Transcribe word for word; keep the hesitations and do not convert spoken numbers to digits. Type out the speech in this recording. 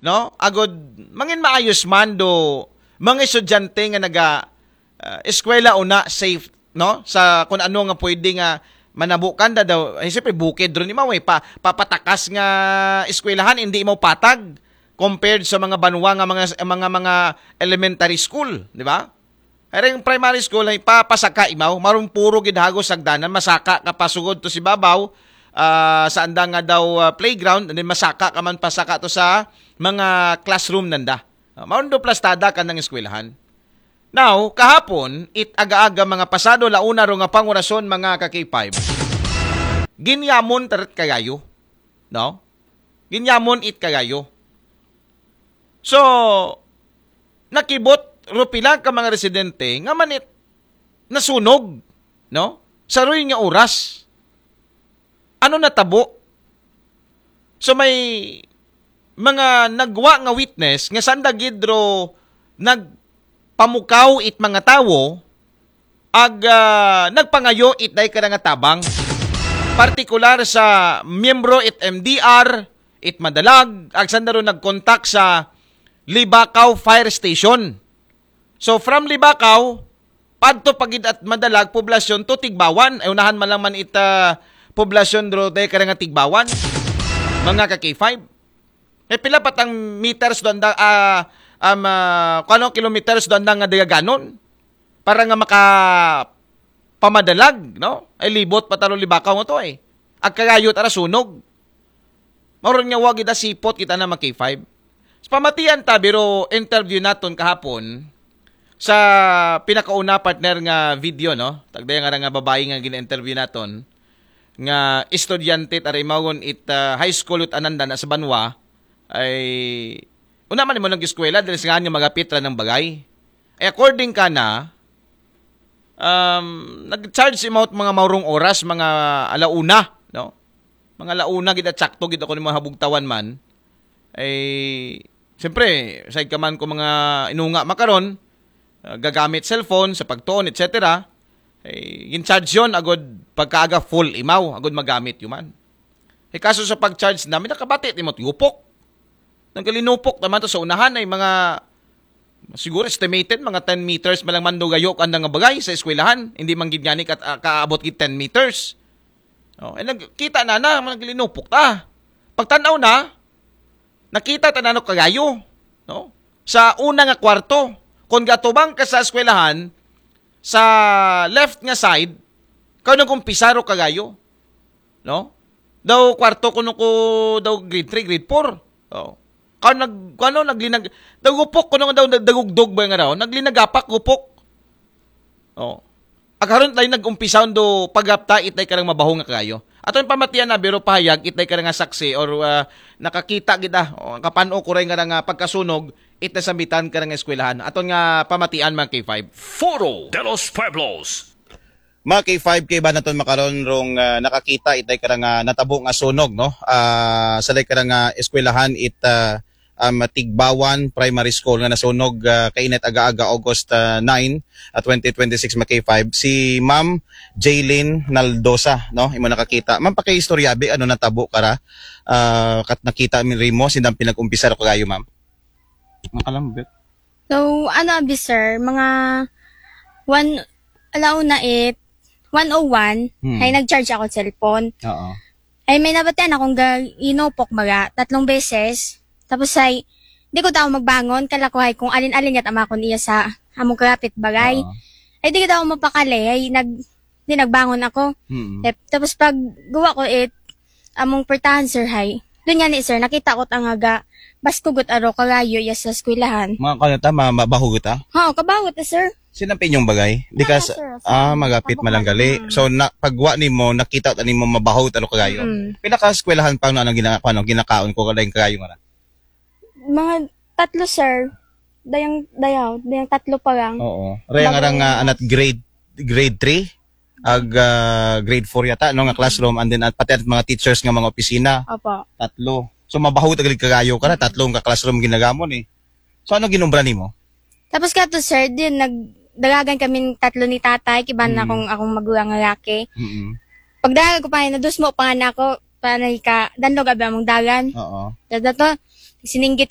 no? Agod mangin maayos man do mga estudyante nga naga ah, eskwela una safe, no? Sa kung ano nga pwede nga manabukan da daw. Eh, siyempre, bukid ron ni Maway. Pa, papatakas nga eskwelahan, hindi mo patag compared sa mga banwa nga mga mga mga elementary school, di ba? Ay, ring primary school ay papasaka imaw, maron puro gid hagos sagdanan, masaka ka pasugod to si babaw, ah, sa anda nga daw, ah, playground, and then masaka ka man pasaka to sa mga classroom nanda. Ah, maron do plastada ka ng eskwelahan. Now, kahapon, it aga-aga mga pasado launa ro nga pangurason, mga ka-K five. Ginyamon tarat kagayo, no? Ginyamon it kagayo. So, nakibot ro pila ka mga residente nga manit nasunog, no? Saroy nga oras. Ano natabo? So may mga nagwa nga witness nga sanda gid ro nagpamukaw it mga tawo ag, ah, nagpangayo it day kada nga tabang. Partikular sa miyembro it M D R, it Madalag, ag sanda ro nagkontak sa Libacao Fire Station. So from Libacao, padto pa gid at Madalag poblasyon to Tigbawan. Ay unahan man lang man it, ah, poblasyon ro day kada nga Tigbawan. Mga ka-K five. Eh, pila pa tang meters do anda, ah, um, ah, kung ano kilometers do anda nga dagaganon para nga maka pamadalag, no? Ay libot pa taro Libacao nga to, eh. Ag kagayo tara sunog. Mauron nga wa gid asipot kita na mag K five. Sa pamatian ta, biro interview naton kahapon sa pinakauna partner nga video, no? Tagdaya nga nga babae nga gina-interview naton nga estudyante tara imagon it, ah, high school ut ananda na sa banwa ay una man mo nag-eskwela dahil sa nga magapit ra ng bagay. Ay according ka na, um, nag-charge si Mount mga maurong oras, mga alauna, no? Mga alauna gid at sakto gid ako ng mga habugtawan man. Ay, siyempre, side ka man ko mga inunga makaron, uh, gagamit cellphone sa pagtuon, et cetera. Ay, in-charge yon agod pagkaaga full imaw, agod magamit yuman. Ay, kaso sa pag-charge namin, nakabati ti mo yupok. Nagalinupok naman to sa unahan ay mga, siguro estimated, mga ten meters malang mandugayo ka nga bagay sa eskwelahan. Hindi man gid gani kat, ah, kaabot gid ten meters. Oh, eh, nagkita na na, naglinupok ta. Pagtanaw na, nakita ta na no kagayo, no? Sa una nga kwarto. Kung gatubang ka sa eskwelahan, sa left nga side, kau nag-umpisa ro kagayo, no? Daw kwarto kuno ko daw grade three, grade four. Oh. Kau nag, ano, naglinag, daw gupok kuno daw dagugdog ba nga raw? Naglinagapak gupok. Oh. Ag karon tayo nag-umpisa do paghapta itay karang mabaho nga kagayo. Aton pamatian na biro pahayag itay karang nga saksi or, ah, nakakita gid, ah, o kapano ko rin nga nga pagkasunog itay sambitan karang eskwelahan. Aton nga pamatian mga K five. Foro de los Pueblos. Mga K five, kay ba naton makaron rong, ah, nakakita itay karang, ah, natabo nga sunog, no? Ah, sa lay karang, ah, eskwelahan it, ah, um, Tigbawan Primary School nga nasunog, ah, kainit aga-aga August, ah, nine, ah, twenty twenty-six, mga K five. Si Ma'am Jaylin Naldosa, no? Imo nakakita. Ma'am, pakiistoryabi, ano natabo kara? Ah, kat nakita mi rimo, sindang pinag-umpisa ro kagayo, ma'am? Makalambit. So, ano abi, sir, mga one, alauna it, one oh one, Hmm. Ay nag-charge ako cellphone. Oo. Ay may nabatian akong ga-, inupok baga, tatlong beses. Tapos ay, di ko tao magbangon, kala ko ay kung alin-alin yat ama akong iya sa among karapit bagay. Oo. Ay di ko tao mapakali, ay nag, di nagbangon ako. Mm. Eh, tapos pag guwa ko it, among pertahan, sir, hay. Doon nga ni, sir, nakita ko tang aga, baskugot aro kagayo iya sa eskwelahan. Mga kano ta, ma-, mabahugot, ah? Oo, kabahugot, eh, sir. Sinampin yung bagay? Di ka Wala, sa, sir. Ah, magapit Abot malanggali. lang. Mm. So, na, pagwa nimo, nakita ta nimo mabahugot aro kagayo. Mm. Pila ka eskwelahan pa no, anong gina-, ano, ginakaon ko, kadaing kagayo nga na? Mga tatlo, sir. Dayang, dayaw, dayang tatlo pa lang. Oo. Raya nga Bago rang, ah, yung anat grade, grade three? Ag, ah, grade four yata, no, nga classroom, and then at, pati at mga teachers nga mga opisina. Opo. Tatlo. So, mabaho tagal kagayo ka na, tatlong ka classroom ginagamon eh. So, ano ginumbra nimo? Tapos ka to, sir, din, nagdalagan kami tatlo ni tatay, kiban na Mm. akong, akong magulang nga laki. Mm-mm. Pagdagan ko pa, nadusmo pa nga na ako, pa na ka, danlog abi among dagan. Oo. Tapos na to, sininggit